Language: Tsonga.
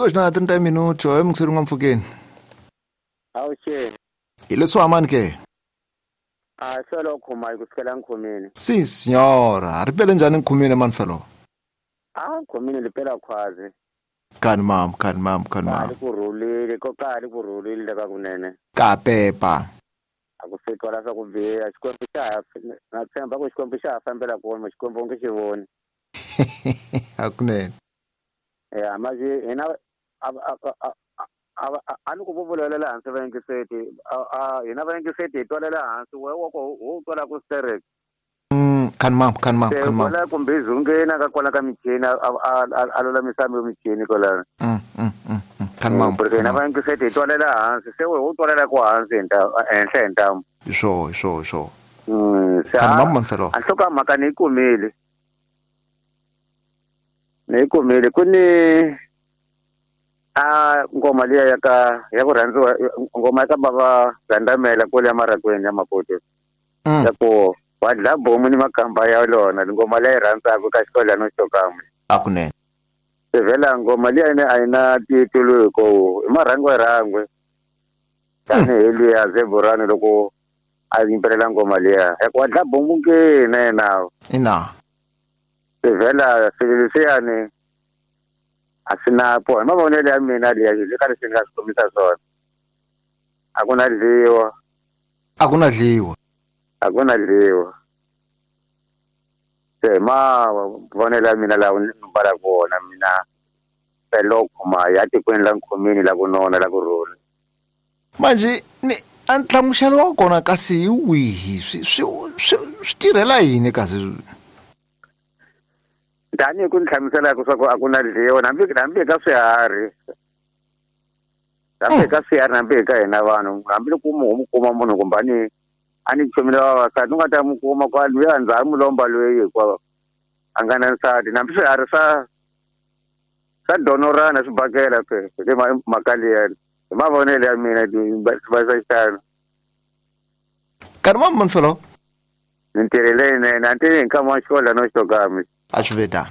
2 na 30 minuto e mukiseri nga mpfukeni. Awuxeni. Hi leswi hamani ke? A solo khoma ku sukela nkhumini. Si signora, ri pele njhani nkhumini mani felo? A nkhumini li pela khwazi. Kani mam, kani mam, kani Ka mam. li ku rhulile, ko ka li ku rhulile ka kunene. Ka pepa. A ku se twala swa ku biha, Xikwembu xa ha na tshemba ku Xikwembu xa ha fambela kona, Xikwembu u nge xi voni. Hakunene. Ya, manje hina a ni ku vuvulela hansi vayingiseti, hina vayingiseti hi twalela hansi, wehe wa ko wo twala ku sterek. Kani mam, kani mam, Se kani mam. kwala kumbe zungeni ka kwala ka michini a lulamisa michini kwalano. Kani mam. Porque hina vayingiseti hi twalela hansi, se wehe u twalela ku hansi hi henhla hi ntamu. Hi swo, hi swo, hi swo. Se Kani mam man felo. a nhloko mhaka ni yi kumile. Ni yi kumile ku ni a ngoma liya ya ka ya ku rhandziwa, ngoma ya ka bava Gandamela kule ya Marakweni ya Maputo. Ya ku wa dla bomu ni makamba ya lona, ngoma leyi rhandzaka ka xikolano xo kamwe. Hakunene. Se vhela ngoma liya ine a yi na titulu hi ko i marhangwe rhangwe. Tanihi luya Zeburani loko a yimbelela ngoma liya ya ku wa dla bomu ke na yena. Ina. Se vhela swilo leswiyani a swi na po hi mavonelo ya mina liya le ka leswi ni nga swi kombisa swona. A ku na dliwa. A ku na dliwa. A ku na dliwa. Se hi mavonelo ya mina lawa ni mbalaka wona mina felo khoma ya tikweni la nkhumini la ku nona la ku rhula. Manje ni a nhlamuselo wa kona kasi hi wihi? Swi tirhela yini kasi? Tanihi ku ni hlamuselaka swa ku a ku na dliwa, hambi ka swiharhi. Hambi ka swiharhi, hambi ka hina vanhu, hambi loko u mu kuma munhu kumbe a ni chomile vavasati, u nga ta mu kuma kwa luya ndzhaku mulomba loyi hinkwawo a nga na nsati. Hambi swiharhi swa donorana swi bakela ke hi mhaka liyani. Hi mavonelo ya mina va swa xitalo. Karhi va mani felo? Ni ntirho leyinene, a ni tivi hi nkama wa xikolo no xitokami. A swi ve tano.